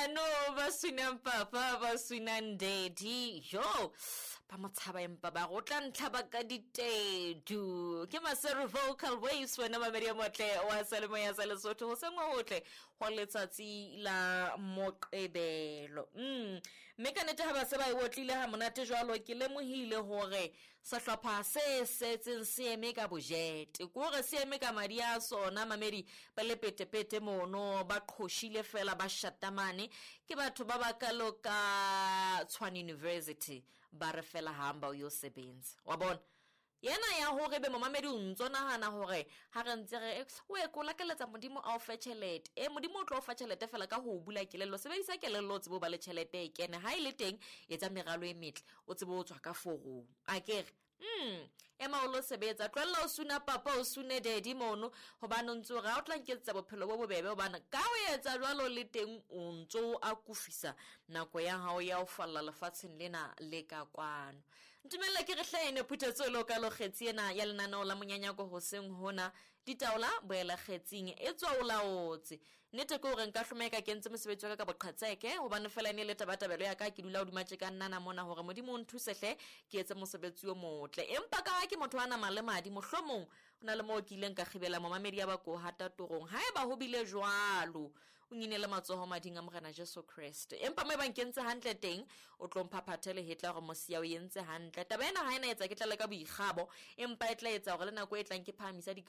Bano ba swinang papa, ba swinang daddy. Yo, ba mo tshaba empa ba go tla ntlha ba ka ditedu. Ke Maseru Vocal Waves wena mamedi ya motle wa Salemo ya sa Lesotho ho sengwe hotle go letsatsi la Moqebelo. Mme ka nete ha ba se ba e otlile ha monate jwalo ke lemohile hore Sehlopha se setseng se eme ka bojete, ke gore se eme ka madi a sona, mamedi ba le petepete mono, ba qhoshile fela ba shatamane, ke batho ba ba kalo ka Tshwane University, ba re fela hamba o yo sebenza. Wa bona? Yena ya hore be momamedi o ntso nahana hore ha re ntse re o e ko lakeletsa Modimo a o fe tjhelete. E Modimo o tlo o fa tjhelete fela ka ho o bula kelello. Sebedisa kelello o tsebe o ba le tjhelete e kene. Ha e le teng etsa meralo e metle. O tsebe o tswa ka forong a kere ema o lo sebetsa, tlohella o suna papa o sune daddy mono, hobane o ntse o re ha o tla nketsetsa bophelo bo bobebe, hobane ka o etsa jwalo le teng o ntse o akofisa nako ya hao ya ho falla lefatsheng lena le ka kwano. Ntumella ke re hlahene phuthetso lo ka lo kgetsi ena ya lenaneo la monyanyako hoseng hona ditaola boela kgetsing e tswa o laotse. Nnete ke hore nka hloma eka ke entse mosebetsi wa ka ka boqhetseke, hobane fela e ne e le tabatabelo ya ka, ke dula hodima tje ka nnana mona hore Modimo o nthuse hle ke etse mosebetsi o motle. Empa ka ha ke motho wa nama le madi, mohlomong ho na le moo ke ileng ka kgibela momamedi ya ba ko hata torong. Haeba ho bile jwalo, o nginele matsoho mading a Morena Jesu Kreste. Empa mo ebang ke entse hantle teng, o tlo mphaphathe lehetla hore mosia o entse hantle. Taba ena ha ena etsa ke tlale ka boikgabo, empa e tla etsa hore le nako e tlang ke phahamisa di